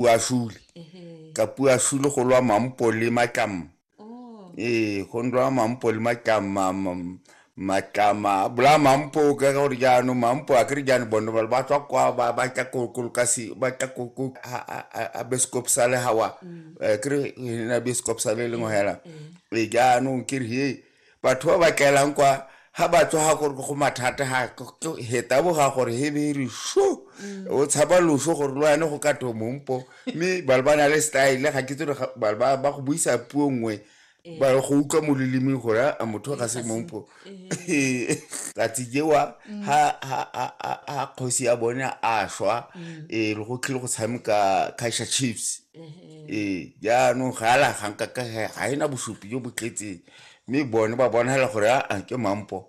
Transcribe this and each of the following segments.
Puashule ka Puashule go lwa Mampo le Matlama. Oh. Ee, go lwa Mampo le Matlama, Matlama bola Mampo ka gore jaanong Mampo a kere jaanong bone ba ba tswa kwa ba ba tla ko ko kasi ba tla ko ko a beskop sale hawa. Kere na beskop sale le ngwe hela. Ee, jaanong ke re he batho ba ba tlelang kwa ha ba tswa ga gore go mathata ha heta bo ga gore he be re sho o tshaba loso gore lo yane go ka to mompo, mme ba ba na le style ga ke tsere ba ba ba go buisa puo nngwe ba go utlwa mo lelemeng gore a motho ga se mompo. Tsatsi jewa ha kgosi ya bone a shwa, e le go tlile go tshameka Kaizer Chiefs. Ee, jaanong ga la ga nka ka ga ena bosupi jo bo tletseng, mme bone ba bonagala gore a ke Mampo.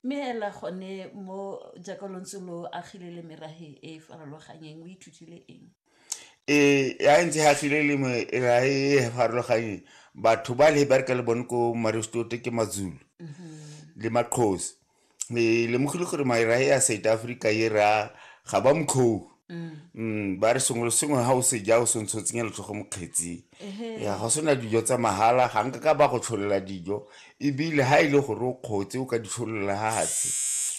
Mme hela gone mo jaaka lo ntse lo agile le merahe e e farologanyeng, o ithutile eng? Ee, ya ntse agile le merahe e e farologanyeng, batho ba le bereka le bone ko Maristote ke Mazulu le Maxhosa. E lemogile gore merahe ya South Africa e ra ga ba mokgou. Ba re sengwe le sengwe ga o se ja o sentse o tsenya letsogo mo kgetsing. Ya ga sena dijo tsa mahala, ga nka ka ba go tsholola dijo, ebile ha e le gore o kgotse o ka di tsholola ha hatshe.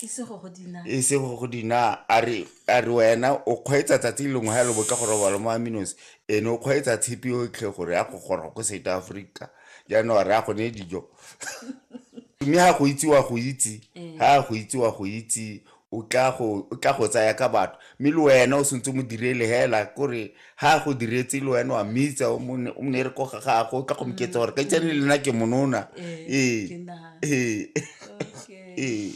E se go go dina. E se go go dina, a re wena o kgweetsa tsatsi lengwe ha le botla go robala mo Aminos, ene o kgweetsa tshipi yotlhe gore ya go goroga ko South Africa. Jaanong a re a go neye dijo. Mme ha go itse wa go itse, ha go itse wa go itse, o tla go tsaya ka batho, mme le wena o sentse mo direle hela kore ha go diretse le wena wa mmitsa o mo nere ko ga gago, o tla go moketsa gore ka itsane le nna ke monona. Ee. Ee. Ee.